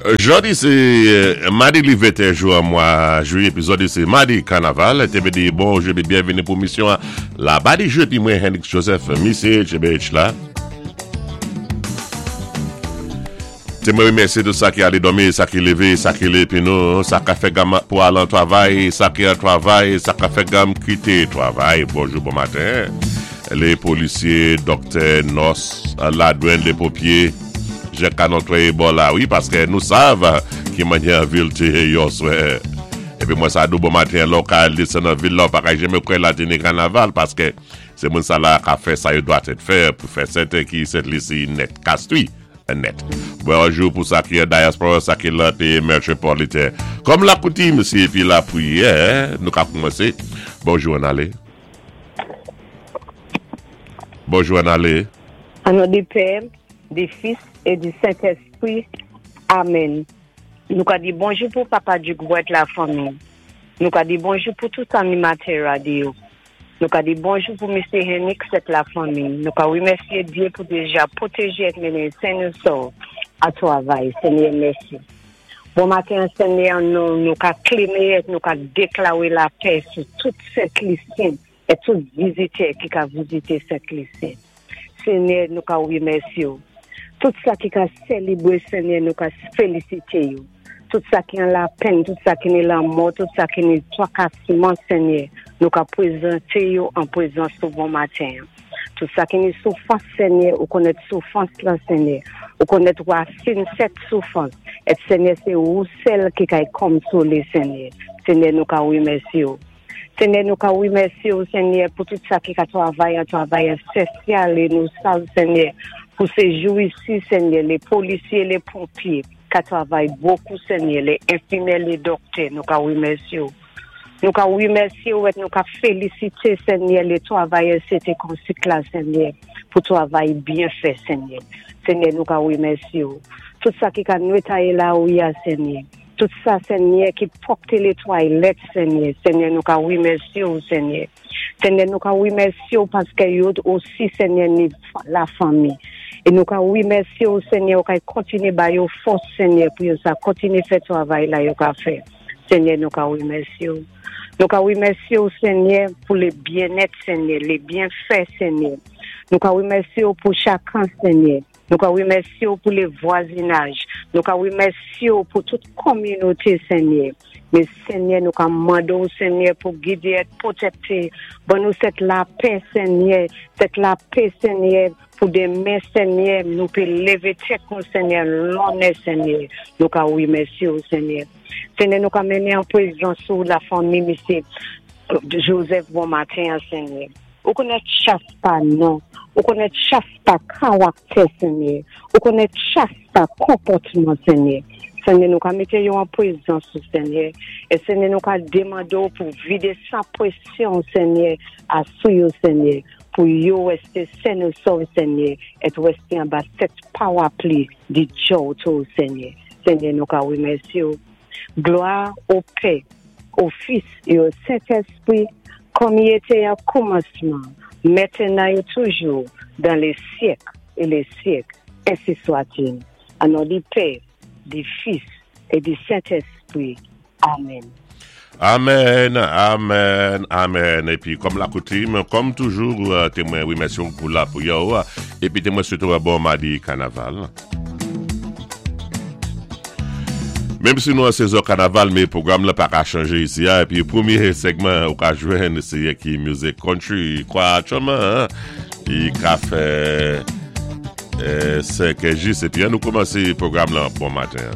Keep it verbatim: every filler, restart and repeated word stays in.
Jòdi sé madi li venteyen jou an mwa jwiyé, épi jòdi sé madi kanaval. Té vlé di bonjou épi byenvini pou misyon Labadi Jou épi mwen Hendrix Joseph, misyé H B H la. Té mwen rémèsyé tout sa ki alé dòmi, sa ki lévé, sa ki lévé épi nou, sa ka fè gam pou al an twavay, sa ki an twavay, sa ka fè gam kité twavay. Bonjou, bon maten. Lé polisyé, dòktè, nòs, ladwann, lé ponpyé, jan ka netwaye bò la, wi, paské nou sav ki mannyè vil té yé yèswè. Épi mwen sa di ou bon maten, lò ka desann nan vil la, pa ka janmé kwè la té ni kanaval, paské sé moun sa la ka fè sa yo dwa tèt fè pou fè sèten ki Sent Lisi nèt kastwi nèt. Bonjou pou sa ki an dyaspora, sa ki lan péyi métwopoliten. Kòm lakoutim, sé épi lapriyè, nou ka koumansé. Bonjou ann alé. Bonjou ann alé. An non di Pè, di Fis é di Sentespwi. Amen. Nou ka di bonjou pou Papa Duke la fanmi. Nou ka di bonjou pou tout animatè radyo. Nou ka di bonjou pou Misyé Henrik ak la fanmi. Nou ka rémèsyé Dye pou déja pwotéjé é mennen sen é sòf a twavay. Senyè, mèsi. Bon maten, Senyè, nou, nou ka klemé, nou ka déklaré lapè sou tout Sent Lisyen é tout vizitè ki ka vizité Sent Lisyen. Senyè, nou ka rémèsyé. Tout sa ki ka sélébwé, Senyè, nou ka félisité yo. Tout sa ki an lapenn, tout sa ki ni lanmò, tout sa ki ni twakasman, Senyè, nou ka pwézanté yo an pwézans ou bon maten. Tout sa ki ni soufwans, Senyè, ou konnèt soufwans la, Senyè. Ou konnèt wasin sèt soufwans. É Senyè, sé ou sèl ki kay konsolé, Senyè. Senyè, nou ka rémèsyé ou. Senyè, nou ka rémèsyé ou, Senyè, pou tout sa ki ka twavay, an twavay ésansyèl, é nou sav, Senyè, pou sé jou isi, Senyè, lé polisyé, lé ponpyé, ka twavay bokou, Senyè, lé enfimyè, lé dòktè, nou ka rémèsyé ou. Nou ka rémèsyé ou é nou ka félisité, Senyè, lé twavayè C T Konsik la, Senyè, pou twavay byen fè, Senyè. Senyè, nou ka rémèsyé ou. Tout sa ki ka netwayé lari a, Senyè. Tout sa, Senyè, ki pwòpté lé twalèt, Senyè. Senyè, nou ka rémèsyé ou, Senyè. Senyè, nou ka rémèsyé ou paské yo osi, Senyè, ni la fanmi. É nou ka rémèsyé ou, Senyè, ou ka kontiné ba yo fòs, Senyè, pou yo sa kontiné fè twavay la yo ka fè. Senyè, nou ka rémèsyé ou. Nou ka rémèsyé ou, Senyè, pou lé byennèt, Senyè, lé byenfè, Senyè. Nou ka rémèsyé ou pou chakan, Senyè. Nou ka rémèsyé ou pou lé vwazinaj. Nou ka rémèsyé ou pou tout kominoté, Senyè. Mé Senyè, nou ka mandé ou, Senyè, pou gidé é pwotékté. Ban nou sèt lapè, Senyè. Sèt lapè, Senyè, pou démen, Senyè, nou pé lévé tèt nou, Senyè, lonnè, Senyè. Nou ka rémèsyé ou, Senyè. Senyè, nou ka mennen an pwézans ou la fanmi, Misyé Joseph, bon maten, Senyè. Ou konnèt chak pa non, ou konnèt chak pa karaktè, Senyè. Ou konnèt chak pa konpòtman, Senyè. Senyè, nou ka mété yo an pwézans ou, Senyè. É Senyè, nou ka demandé ou pou vidé san pwésye, Senyè, a sou yo, Senyè, pou yo wèsté sen é sòf, Senyè, é wèsté anba sèt parapli di djòto, Senyè. Senyè, nou ka rémèsyé ou. Glwa o Pè, o Fis é o Sentespwi, kòm i été an koumansman, mentnan é toujou, dan lé syèk é lé syèk, ensi swa-t-il. An non di Pè, di Fis é di Sentespwi. Amen. Amen, amen, amen. Épi, kòm lakoutim, kòm toujou, té mwen rémèsyé ou pou lapriyè. Épi, té mwen swété ou bon madi kanaval. Menm si nou an sezon kanaval, mé pwogram la pa ka chanjé isi a. Épi, pwémyé segman, ou ka jwenn, sé Yankee Music Country. Kwa, aktyèlman, i ka fè senk jis. Épi, an nou koumansé pwogram la bon maten.